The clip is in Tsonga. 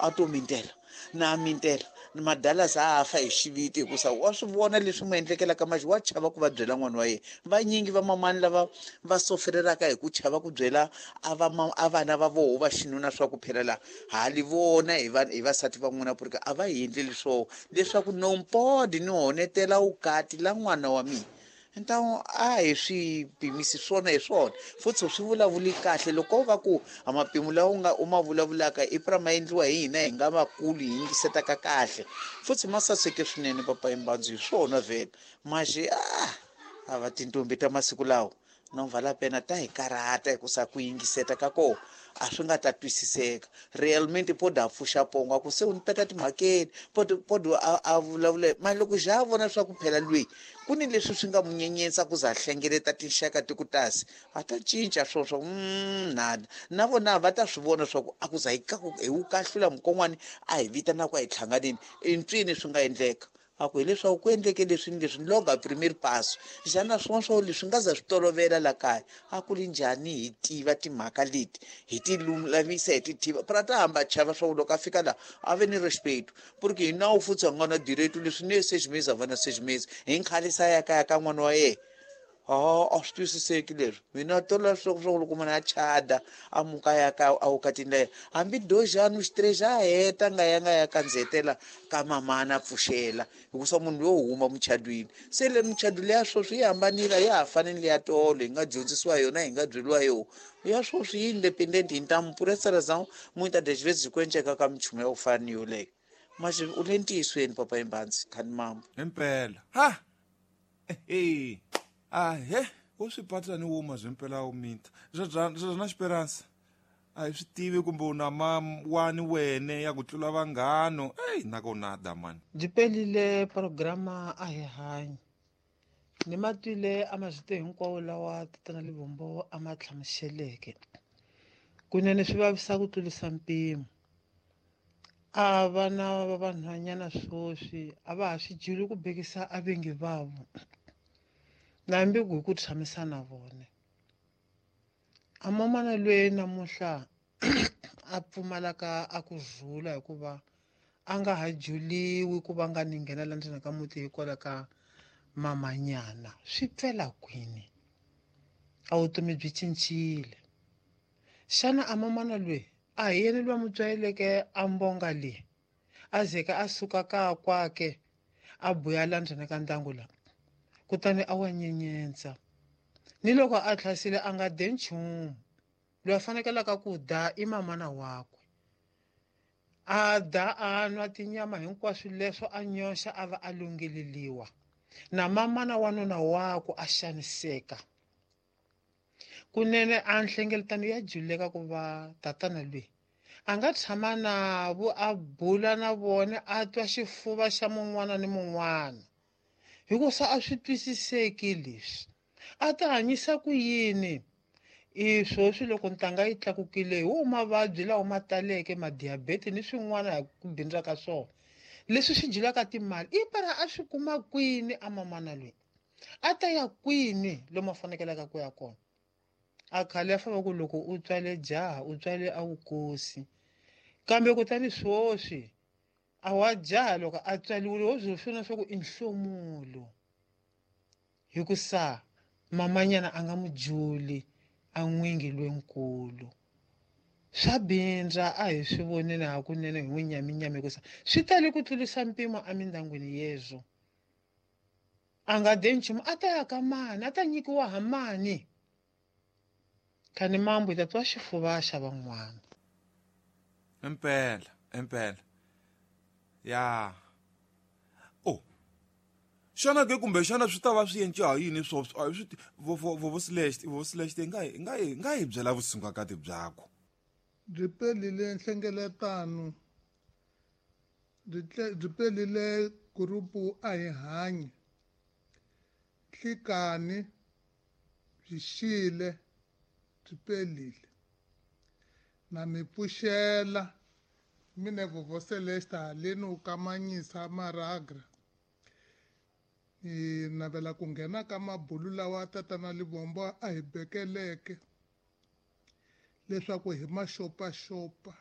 A to mintela na mintela madala za a fa hi xiviti hikusa wa swi vona leswi n'wi endlekelaka maxi wa chava ku va byela n'wana wa yena. Vanyingi va mamani lava va soferelaka hi ku chava ku byela a va a vana va voho va xinuna swa ku phela la hali vona hi va hi vasati va n'wina purika a va hi endleli swoho leswaku nompodi ni honetela wukati la n'wana wa mina. Ntawu a hi swi pimisi swona hi swona futhi swi vulavuli kahle loko va ku a mapimo lawa u nga u ma vulavulaka i pra ma endliwa hi hina hi nga vakulu hi yingisetaka kahle futhi ma saseke swinene papa Imbandzu hi swona vhele maxi a va tintombi ta masiku lawa no vala pena ta hi karhata hikusa ku yingiseta ka kona a swi nga ta twisiseka realmente po da pfuxa pongo a ku se u ni peta timhakeni podo a vulavula mali loko xa a vona swa ku phela lweyi ku ni leswi swi nga mu nyenyetsa ku za hlengeleta tinxaka ti ku tasi a ta cinca swo swa nada na vona va ta swi vona swa ku a ku za hi hi wu kahlula mukon'wani a hi vitana ku a hi hlanganeni entswini swi nga endleka a ku hileswaku ku endleke leswi ni leswi ni loga premier paso xana swin'wana swa leswi nga za swi tolovela la kaya a ku ri njhani hi tiva timhaka leti hi ti lulamisa hi ti tiva pra ta hamba chava swa ku loko a fika laha a ve ni respect porque hi nawu futhi a nga na direito leswi ne 6 meses a va na 6 meses hi nkhalisa ya kaya ka n'wana wa yena. A a swi twisiseki leswi mina tola swa ku loko munhu a chada a muka ya ka a wukatini la yena hambi dojani xitirexi a heta nga ya nga ya kandzetela ka mamana a pfuxela hikusa munhu yo huma muchadwini se le muchado leya sweswi yi hambanile ya ha fani ni leya tolo hi nga dyondzisiwa yona hi nga byeriwa yona ya sweswi yi independent hi ntamu por essa razão muitas das vezes ku enceka ka minchumu ya ku fana ni yoleyo maxi u le ntiyisweni papa Imbandzi khani mambo. Impela ha ehe ahe wo swi patla ni wuma zwimpela wu minta swa na xiperansa a hi swi tivi kumbe u na mawani wene ya ku tlula vanghano eyi na ko nada mani. Byi pelile programa a hi hanyi ni ma twile a mazwito hinkwawo lawa tatana Livombo a ma hlamuseleke kunene swi vavisa ku tlurisa mpimo a vana va vanhwanyana swoswi a va ha swi juli ku bekisa a vengi vavo na hambi ku hi ku tshamisa na vona a mamana lweyi namuntlha a pfumalaka a ku rhula hikuva a nga ha juliwi ku va nga ni nghena la ndzeni ka muti hikwalaho ka mamanyana swi pfela kwini a vutomi byi cincile xana a mamana lweyi a hi yena loyi a mu tswaleleke a mbonga leyi a zeka a suka ka kwake a buya la ndzeni ka ndyangu la kutani a wa nyenyentsa ni loko a tlhasile a nga de nchumu loyi a fanekelaka ku da i mamana wakwe a da a nwa tinyama hinkwaswo leswo a nyoxa a va a lungheleliwa na mamana wa nuna wakwe a xaniseka kunene a nhlengeletano ya juleka ku va tatana lweyi a nga tshama navo a bula na vona a twa xifuva xa mun'wana ni mun'wana hikusa a swi twisiseki leswi a ta hanyisa ku yini i swoswi loko ntanga yi tlakukile hi wo mavabyi lawa ma taleke madiabete ni swin'wana hi ku bindza ka swona leswi swi dyelaka timali i para a swi kuma kwini a mamana loyi a ta ya kwini lomu a fanekelaka ku ya kona a khale a famba ku loko u tswale jaha u tswale a wukosi kambe kutani swoswi a wa jaha loko a tswaliwile wo swi swona swa ku i nhlomulo hikusa mamanyana a nga mu juli a n'wingi lwenkulu swa bindza a hi swi voneni hakunene hi n'wi nyaminyami hikusa swi tale ku tlurisa mpimo emindyangwini yezwo a nga de nchumu a ta ya ka mani a ta nyikiwa ha mani khani mambo hi ta twa xifuva xa van'wana. Impela impela ya oh xana ke kumbe xana swi ta va swi endle ha yini swo a hi swi vo slash nga hi byela vusungakati byakho. Byi pelile nhlengeletano byi pelile gurupu a hi hanyi nhlikani byi xile byi pelile na mi pfuxela mine Vovo Celeste haleni u kamanyisa maragra ni navela ku nghena ka mabulu lawa tatana Livombo a hi bekeleke leswaku hi maxopaxopa.